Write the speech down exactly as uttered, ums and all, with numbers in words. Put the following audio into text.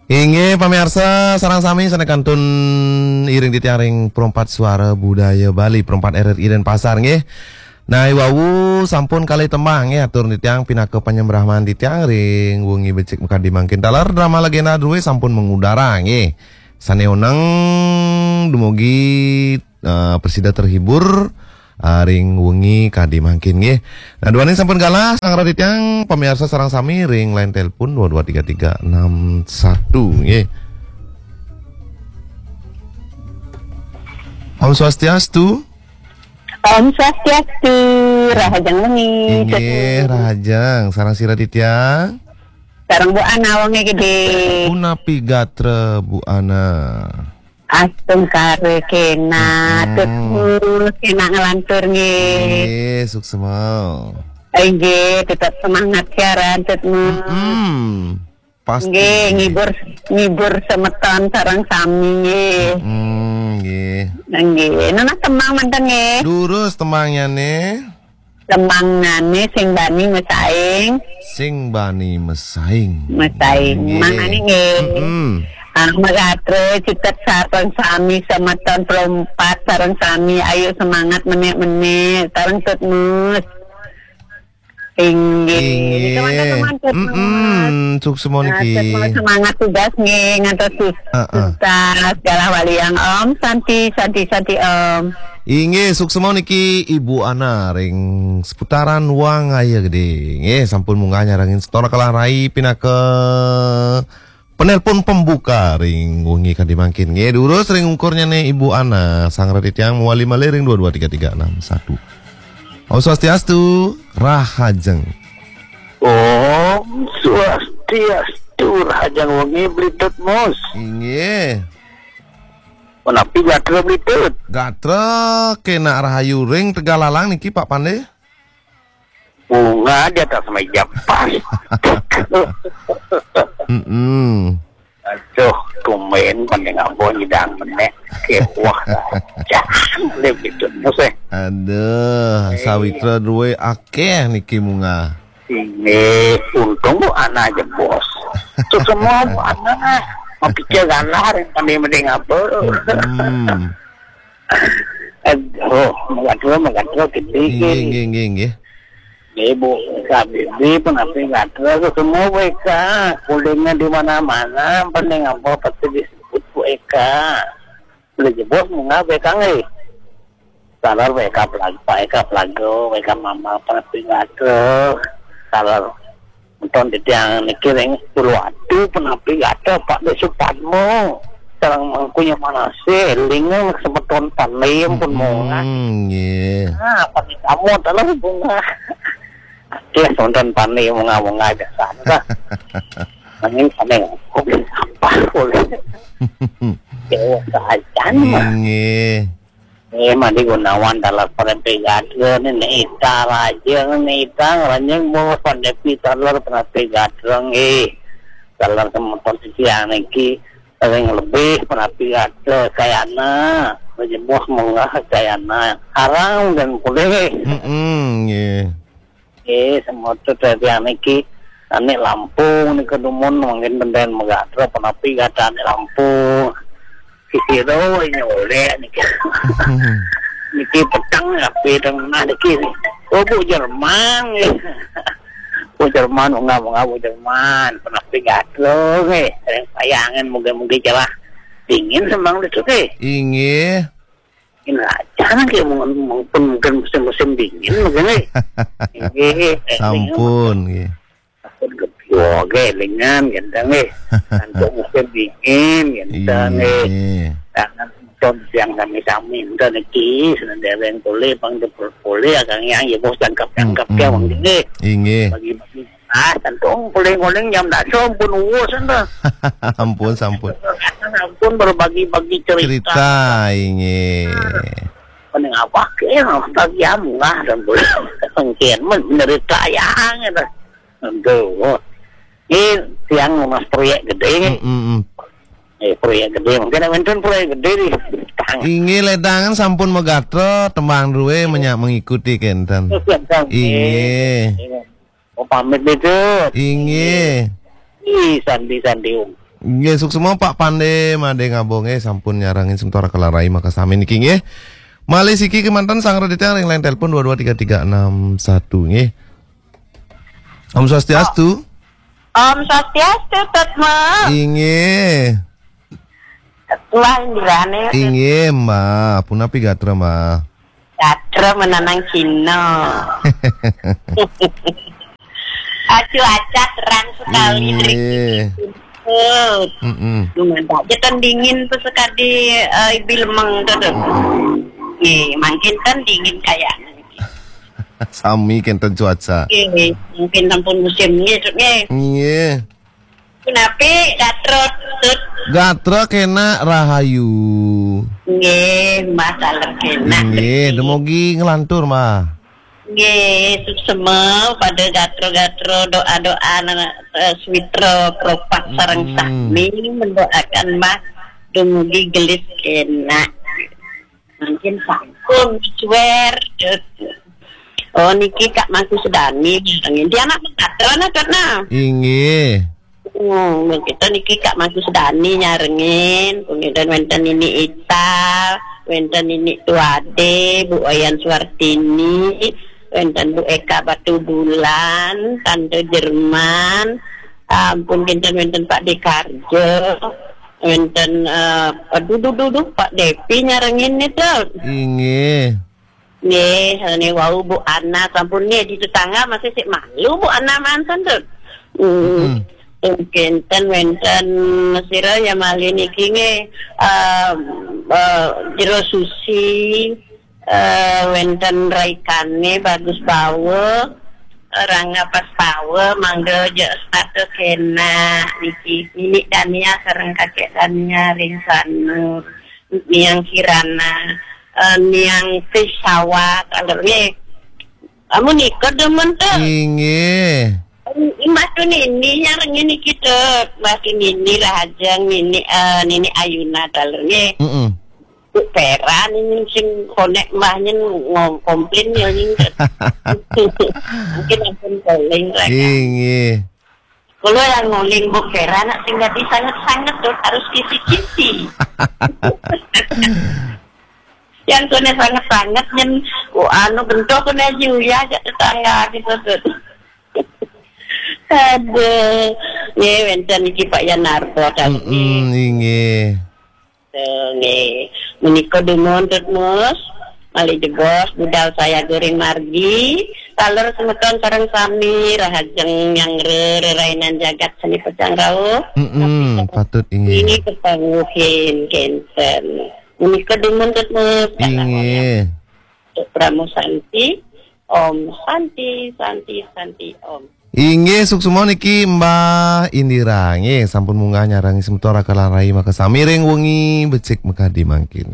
Inggih, pamiarsa sareng sami sané kantun iring titiang ring Perempat Suara Budaya Bali, Perempat R R I Denpasar, nggih. Nah, iwau sampun kalih tembang, nggih, atur titiang pinaka panyembrahman titiang ring wengi becik makadi mangkin. Taler drama legenda drué sampun mangudara, nggih. Sané oneng dumugi eh, prasida terhibur eh, ring wengi kadi mangkin, nggih. Nah, duaning sampun galah, sareng titiang pamiarsa sareng sami ring line telepon dua dua tiga tiga enam satu, nggih. Om Swastiastu. Om Swastiastu, rahajeng wengi. Inggih, rahajeng. Sareng sira titiang? Sareng Bu Ana, wengi gedé. Punapi gatra, Bu Ana? Astungkara kénak, Tut Mus, kénak nglantur nggih. Nggih, suksma. Inggih, tetep semangat siaran, Tut Mus. Hmm, pasti. Nggih, ngibur, ngibur semeton sareng sami nggih. Hmm, nggih. Nggih, nunas tembang manten nggih. Durus tembangnyané. Tembangnyané sing bani mesaing. Sing bani mesaing. Mesaing. Nggih. Mangdané nggih. Mm-mm. Ah, magatra citet sareng sami semeton Perempat sareng sami ayo semangat menék-menék sareng Tut Mus. Inggih. Inggih. Nika mantap, mantap, Mus. Mm-mm. Suksma niki. Nah, Tut Mus, semangat tugas nggih ngantos sus- Heeh. Tuntas, galah waliang, Om Santi, Santi, Santi, Om. Inggih, suksma niki Ibu Ana ring seputaran Wangaya Gedé. Nggih, sampun munggah nyarengin Setora Kelah Rai pinaka penelpon pembuka ring wengi kadi mangkin. Nggih, durus ring ungkurnyané Ibu Ana, sareng titiang mawali malih ring dua dua tiga tiga enam satu. Om Swastiastu, rahajeng. Om Swastiastu, rahajeng wengi Bli Tut Mus. Inggih. Punapi gatra Bli Tut? Gatra kénak rahayu ring Tegallalang niki, Pak Pandé? Bunga di atas meja pas. Mm-mm. Aduh, tumben Pandé ngaba nyidang menék. Kéweh sajan. Lé Bli Tut Mus, eh. Aduh, sawitra drué akéh niki munggah. Inggih, untung Bu Ana jebos. Suksma Bu Ana. Mapikir galah ring Pandé mending apa. Hmm. Aduh, magatra, magatra gedé. Inggih, inggih, inggih, inggih. Nggih, Bu, K B B punapi gatra, suksma Bu Eka. Kulingnya di mana-mana, Pandé ngaba pasti disebut Bu Eka. Udah jebos munggah Bu Eka nggih. Taler W K Pelago, Pak Eka Pelago, W K Mama, Pak Pingato, taler. Nonton titiang niki ring Uluwatu, punapi gatra Pak Dé Supadmo. Sareng Mangku Nyoman Asih, élingang semeton Pandé pun munggah. Hmm, nggih. Nah, Pandé kamu taler bunga. Akéh semeton Pandé munggah-munggah biasa dah. Nanging sampai apa boleh. Dewa sajan. Nggih. Eh, Madi Gunawan taler Prapi Gatra, Nénék Ita Raja, Nénék Ita Ngranjing, Bos Pandepi taler Prapi Gatra, nggih. Taler semeton titiang niki, ring lebih Prapi Gatra, Kayana, Raja Bos munggah Kayana, arang dan pulih. Mm-mm, nggih. Eh, semeton titiang niki, ané Lampung nika dumun, mangkin benten magatra, punapi gatra ané Lampung. Sisiro nyolek niki. Niki peteng, api tengah niki. Oh, Bu Jerman, nggih. Bu Jerman, munggah-munggah Bu Jerman, punapi gatra, nggih. Ring Payangan, mugi-mugi cerah. Dingin semeng besuk, nggih. Inggih. Ini aja nggih, mungkin, mungkin musim-musim dingin mungkin, nggih. Nggih, eh, sampun, nggih. Sampun gedé, nggih, élingang, ngénten, nggih. Nanti musim dingin, ngénten, nggih. Inggih. Jangan nonton siang sami-sami, ngénten niki, seneng dereng boleh, bang jebul boleh, agak yang ya bos tangkap-tangkap ya, bang, nggih. Inggih. Bagi-bagi. Ah, tentu boleh ngoling jam dasa pun uwus, enten. Ampun, sampun. Sampun berbagi-bagi cerita. Cerita, inggih. Mending apa ke, bagi amlah, dan boleh. Mungkin men-, menderita yang, gitu. Aduh. Ini tiang mas proyek gedé, nggih. Mm, mm, mm. Eh, proyek gedé. Mungkin wénten proyek gedé di tang. Inggih, ledangan sampun magatra, tembang drué menya-, mengikuti kénten. Terus ya, Kang. Inggih. Inggih. Oh, pamit itu. Inggih. Ih, sandi-sandi, Om. Nggih, suksma Pak Pande, Made Ngabong, nggih, sampun nyarengin semeton Raka lan Rai makasami niki, nggih. Malih siki kemanten sang rediteng ring line telepon dua dua tiga tiga enam satu, nggih. Om Swastiastu. Om Swastiastu, Tut Mus. Inggih. Wah, indirane. Inggih, Mbah. Punapi gatra, Mbah? Gatra menanang Cina. Acu acak terang sekali. Inggih. Tut. Mm-mm. Lumayan aja kan dingin tuh sekali, eh, ibil meng tuh, tuh. Nggih, mangkin kan dingin kayaknya. Sami kenten cuaca. Nggih, mungkin sampun musim nggih, Tut, nggih. Nggih. Punapi gatra, Tut? Gatra kenak rahayu. Nggih, Mbah taler kenak. Nggih, dumogi nglantur, Mbah. Nggih, suksma pada gatra-gatra doa-doa nana, eh, switra kropak sareng Hmm. Sami mendoakan Mbah dumugi gelis kenak. Mungkin sampun suwer. Oh, niki Kak Mangku Sedani nyarengin. Dia anak gatra nah, Tut, nah. Inggih. Hmm, kita niki Kak Mangku Sedani nyarengin. Kemudian wenten Nini Ita, wenten Nini Tuade, Bu Wayan Suartini, wenten Bu Eka Batu Bulan, Tante Jerman, ampun kinten wenten Pak Dekarjo, wenten, eh, aduh, duh, duh, duh, Pak Depi nyarengin nih, Tut. Inggih. Nggih, ini wau Bu Ana, sampun nggih di tetangga masih sik malu Bu Ana manten, Tut. Hmm. Mm-mm. Kinten wenten sira ya malih niki nggih, eh, eh, Jero Susi, eh, wenten Raikane Bagus Bawa, eh, Rangga Pastawa, mangga aja setata kenak niki. Nini Dania sareng Kakek Dania ring Sanur, Niang Kirana, eh, Niang Tisawat, alur nggih. Amun nika demen tuh. Inggih. Mbah Tunini nyarengin niki, Tut. Mbah Tunini Rahajeng, Nini, eh, Nini Ayuna, alur nggih. Mm-mm. Bu Peran ini sing konek mbahnya ngom-, komplain ya ini. Mungkin ampun calling, Raka. Inggih. Kula yang nguling Bu Peran nak sing dadi sanget-sanget, Tut, harus kisi-kisi. Yang kene sanget-sanget nyen, oh, anu bentuk kene aja ya, aja tetangga gitu, Tut. Aduh, nggih wenten niki Pak Yanarto tadi. Mm-mm, inggih. Tuh, nggih. Menika dumun, Tut Mus. Malih jebos budal saya goreng margi. Taler semeton sareng sami rahajeng nyanggra rerainan jagat seni pecang rauh. Mm-mm, tapi patut inggih. Ini kepanguhin kenten. Menika dumun, Tut Mus. Inggih. Tut Pramu Santi. Om Santi, Santi, Santi, Om. Inggih, suksma niki Mbah Indira. Nggih, sampun munggah nyarengin semeton Raka lan Rai makasami ring wengi becik makadi mangkin.